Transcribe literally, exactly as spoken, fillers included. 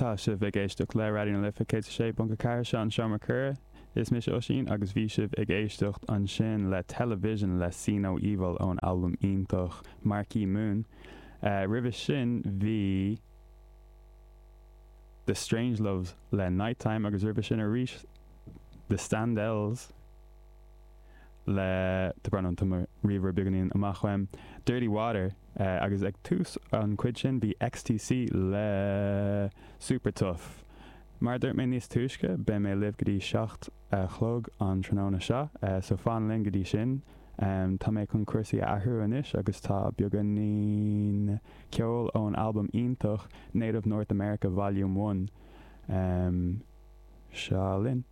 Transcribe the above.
Tá sibh ag éisteacht le Raidió na Life céad sé ponc ceathair seo an Seomra Comhrá is mise Oisín agus bhí sibh ag éisteacht ansin le Television le See No Evil ón albam iontach Marquee Moon. Uh, Roimhe sin bhí The Strangeloves le Nighttime agus roimhe sin arís The Standells le tá brón orm ríomhaire beagáinín amach uaim Dirty Water uh, agus ag tús an chuid sin bhí XTC le Super Tough. Mar dúirt mé níos túisce beidh mé libh go dtí seacht a chlog an tráthnóna seo, uh, so fan linn go dtí sin. Um, tá mé chun cúrsaí a athrú anois agus tá beagáinín ceol ón albam iontach Native North America Volume One. Um, seo linn.